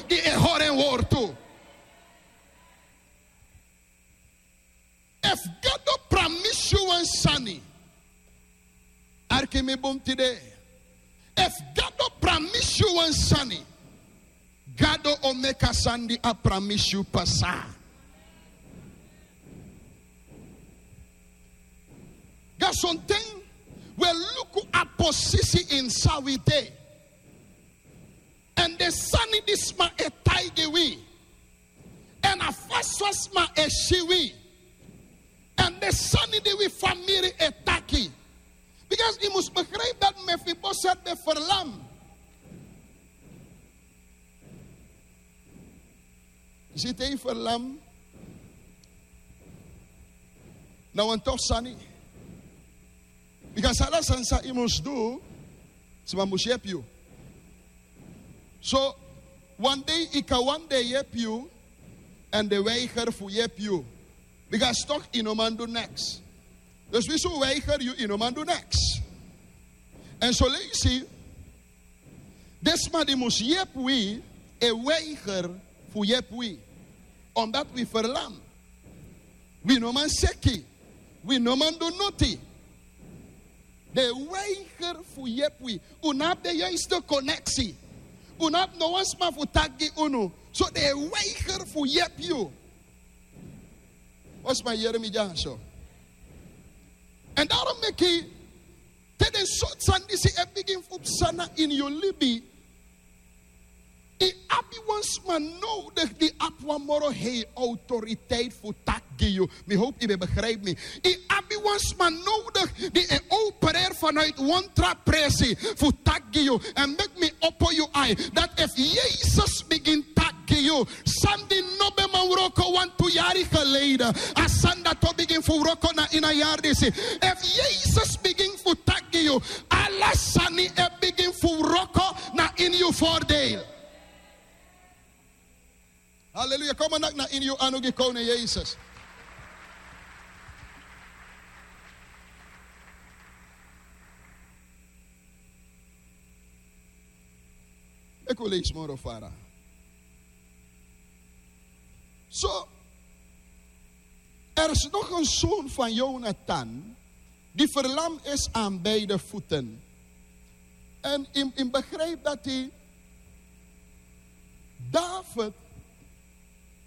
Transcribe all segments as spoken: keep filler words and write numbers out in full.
di e hori en wortu. Efu Gado pramisi yu wan sani, arki mi bun tide. Efu Gado pramisi yu wan sani, Gado o meki a sani di a pramisi yu pasa. Ga sonten wi e luku a posisi ini san wi de. Èn den sani di sma e taigi wi. Èn a fasi fa sma e si wi. Èn den sani di wi famiri e taki. Because yu mus begrijpi dati Mefiboset ben ferlam. Yu si te yu ferlam, na wan tof sani. Because ala sani san yu mus du, sma mus yepi yu. So, wan dei yu kan wani den yepi yu, èn den weiger fu yepi yu. Because toch yu no man du niks. Dus wi su weiger yu, yu no man du niks. Èn soleisi den sma di mus yepi wi e weiger fu yepi wi. Omdat wi ferlam. Wi no man seki. Wi no man du noti. Den e weiger fu yepi wi. Un no abi den juiste koneksi. Un no abi no wan sma fu taki gi unu. So den e weiger fu yepi yu. Wan sma yere mi dyaso. Èn daarom meki te den sortu sani disi e bigin fu psa na ini yu libi, yu abi wan sma nodigi di abi wan moro hei autoriteit fu taki gi yu. Mi howpu yu ben begrijpi mi. Yu abi wan sma nodigi di e opereri vanuit wan tra presi fu taki gi yu. Èn meki mi opo yu ai dati efu Yesus bigin taki gi yu, sani di no ben man wroko wantu yari geleden, a sani dati o bigin fu wroko na ini a yari disi. Efu Yesus bigin fu taki gi yu, ala sani e bigin fu wroko na ini yu voordeel. Haleluya. Kon man naki na ini yu anu gi Koning Yesus. Meki un leisi moro fara. So, er is nog een zoon van Jonathan, die verlamd is aan beide voeten. En in, in begrijp dat hij, David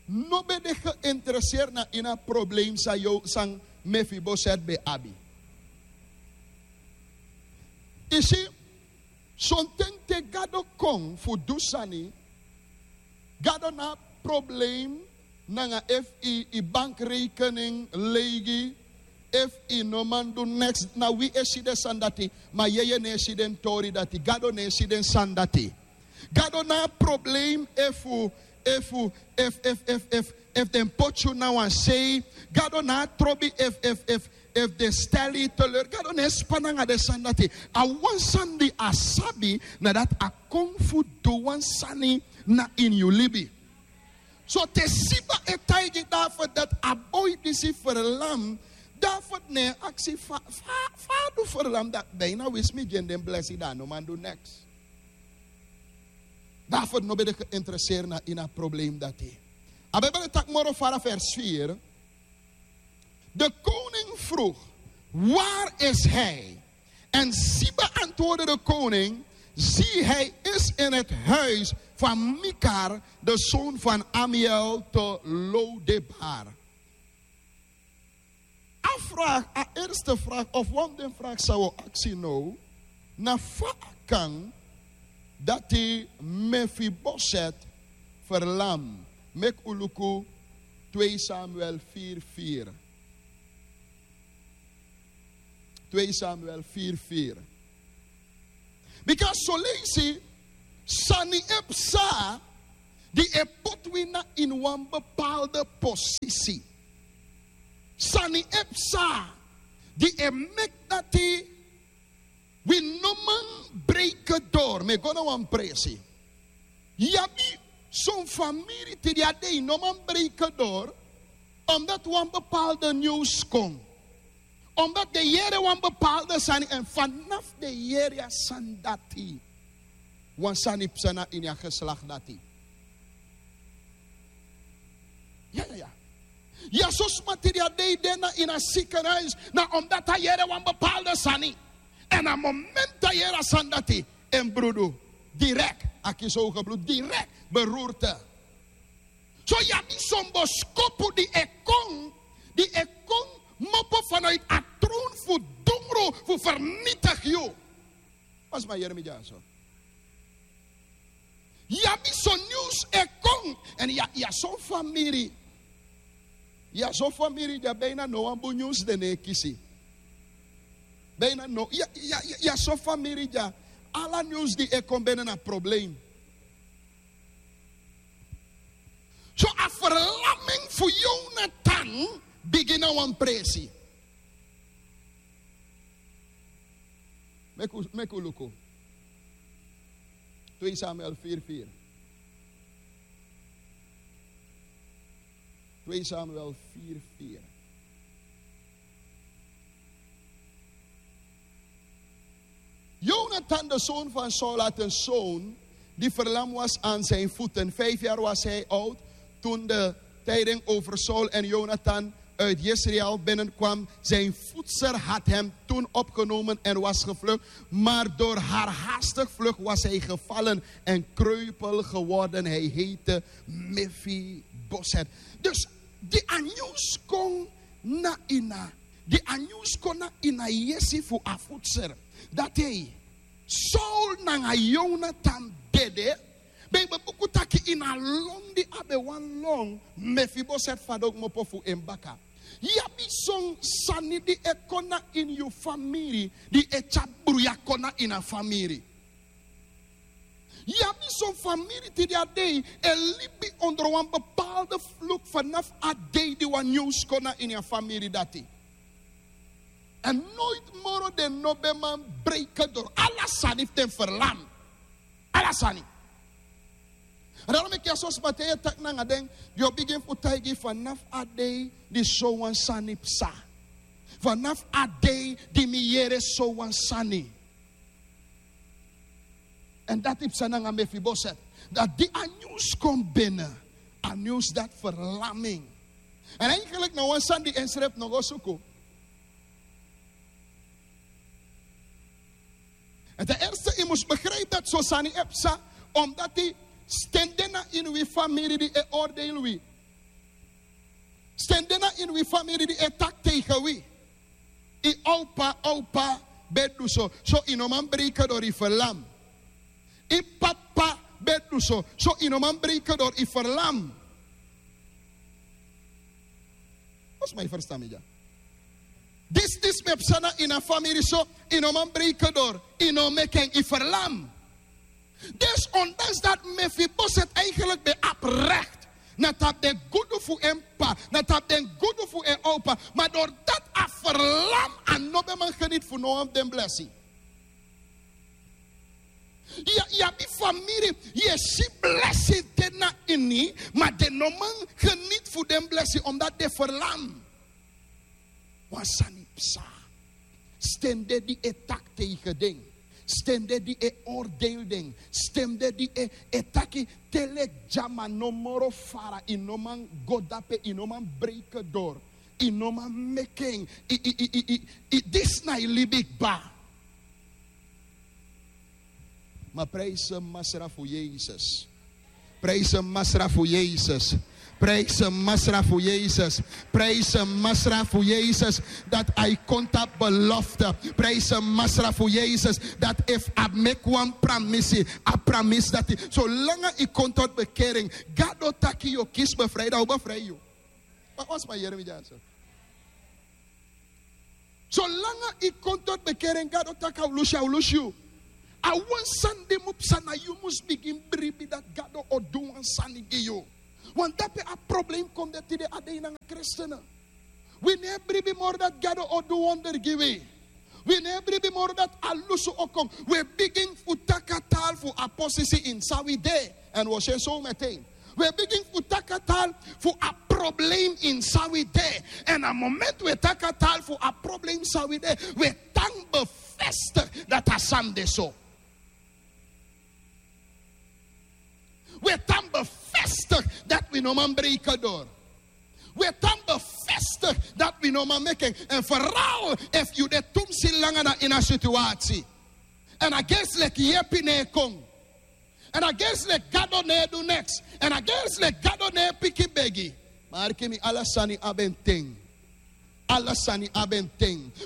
no ben de geïnteresseerd na in a probleem san yo san Mefiboset ben abi. Yu si, sonten te Gado kon fu du sani, Gado no abi probleem nanga efu yu, yu bankrekening leigi, efu yu no man du neks. Na wi e si den sani dati, ma yeye no e si den tori dati, Gado no e si den sani dati. Gado no abi probleem efu, efu, efu, efu, efu, efu, efu den poti yu na wan sei. Gado no abi trobi efu, efu, efu, efu den stel yu teleur. Gado no e span nanga den sani dati. A wan sani di a sabi, na dati a kon fu du wan sani na ini yu libi. So te Siba e taigi David dati a boi disi ferlam, David no e aksi fa, fa, fa a du ferlam dati, bijna winsi mi gi en den blesi, dan a no man du neks. David no ben de geïnteresseerd na in a probleem dati. A Bijbel e taki moro fara vers vier. De koning vroeg: "Waar is hij?" En Siba antwoordde de koning: "Zie, hij is in het huis van Mikar, de zoon van Amiel te Lodebar." A vraag, a eerste vraag, of wan den vraag san wi o aksi now, na fa a kan dati Mefiboset ferlam? Meki un luku twee Samuel vier vier. Twee Samuel vier vier. Because soleisi sani e psa di e poti wi na ini wan bepaalde posisi. Sani e psa di e meki dati wi no man breken door. Mi e go na wan presi. Yu abi son famiri tide a dei no man breken door, omdat wan bepaalde nieuws kon. Omdat den yere wan bepaalde sani, èn fanafu den yere a sani dati, wan sani psa na ini a geslacht dati. Ya so sma tidi a dei de na ini a sikenhuis, na omdati a yere wan bepaalde sani. Èn a momenti a yere a sani dati, en brudu, direkt a kisi ogebludu, direkt beroerte. So ya abi son boskopu di e kon, di e kon mopo vanuit a troon fu dungru fu vernietig yu. Mas ma yere mi dyaso. Ya abi son nyunsu e kon. Èn ya, ya son famiri. Ya son famiri dya bijna no wan bun nyunsu den no e kisi. Bijna no. Ya, ya, ya, ya son famiri dya. Ala nyunsu di e kon ben na problem. So a verlamming fu Jonathan bigin na wan presi. Meki un, meki un luku. Twee Samuel vier vier. Twee Samuel vier vier. Jonathan, de zoon van Saul, had een zoon die verlam was aan zijn voeten. Vijf jaar was hij oud toen de tijding over Saul en Jonathan uit Jezreel binnenkwam. Zijn voedster had hem toen opgenomen en was gevlucht, maar door haar haastig vlucht was hij gevallen en kreupel geworden. Hij heette Mefiboset. Dus di a nyunsu kon na ini a, di a nyunsu kon na ini a yesi fu a voedster, dati Saul nanga Jonathan dede. Ben ben buku taki ini a lon di a ben wani lon, Mefiboset fadon kmopo fu en baka. Ya abi son sani di e kon na ini yu famiri, di e tyari bruya kon na ini a famiri. Ya abi son famiri tidi a dei e libi onder wan bepaalde vloek vanaf a dei di wan nyunsu kon na ini a famiri dati. Èn nooit moro den no ben man breken door. Ala sani fu den verlam. Ala sani. Daarom meki a so sma te yu e taki nanga den, den o bigin fu taigi yu vanaf a dei di sowan sani psa. Vanaf a dei di mi yere sowan sani. Èn dati psa nanga Mefiboset. Dati di a nyunsu kon binnen, a nyunsu dati verlamming. Èn eigenlijk na wan sani di ensrefi no go suku. Èn ten eerste, yu mus begrijp dati so sani e psa, omdati sten de na ini wi famiri di e oordeel wi. Sten de na ini wi famiri di e taki tegen wi. Yu opa, opa ben du so, so yu no man breken door, yu verlam. Yu papa ben du so, so yu no man breken door, yu verlam. Als ma yu verstan mi dya. Disi, disi ben psa na ini a famiri so, yu no man breken door, yu no meki en, yu verlam. Dus ondanks dat Mefiboset eigenlijk ben abi recht na tapu den gudu fu en p'pa, na tapu den gudu fu en opa, maar doordat a verlam, a no ben man geniet fu no wan fu den blessing. Ya, yu abi famiri, yu e si blessing de na ini, maar den no man geniet fu den blessing, omdat den verlam. Wan sani psa. Sten de di e taki tegen den. Sten de di e oordeel den. Sten de di e, e taki te leki dya, ma no moro fara, yu no man go dape, yu no man breken door, yu no man meki en, yu, yu, yu, yu, yu, disi na yu libi kba. Ma prijs Masra fu Yesus. Prijs Masra fu Yesus. Prijs Masra fu Yesus. Prijs Masra fu Yesus. Dati a e kon tapu belofte. Prijs Masra fu Yesus. Dati efu a meki wan pramisi, a pramisi dati. Solanga yu kon tot bekering, Gado taki yu o kisi bevrijden, a o bevrij yu. Ma wan sma yere mi dyaso. Solanga yu kon tot bekering, Gado taki a o lusu yu, a o lusu yu. A wan sani di mu psa, na yu mus bigin bribi dati Gado o du wan sani gi yu. Want dape a problem kon de tide a dei nanga kristenen. Wi no e bribi moro dati Gado o du wonder gi wi. Wi no e bribi moro dati a lusu o kon. Wi e bigin fu taki a taal fu a posisi ini san wi de. Èn wi o si en so meteen. Wi e bigin fu taki a taal fu a problem ini san wi de. Èn a moment wi e taki a taal fu a problem san wi de, wi e tan bevestig dati a sani de so. Wi e tan bevestig dati wi no man breken door. We tan befestik dati wi no man meki en. Èn feral efu yu de tumsi langa na ini a situasi, èn a gersi leki yepi no e kon, èn a gersi leki gado no e du neks, èn a gersi leki gado no e piki begi. Ma arki mi, ala sani abi en ten. Ala sani abi en ten.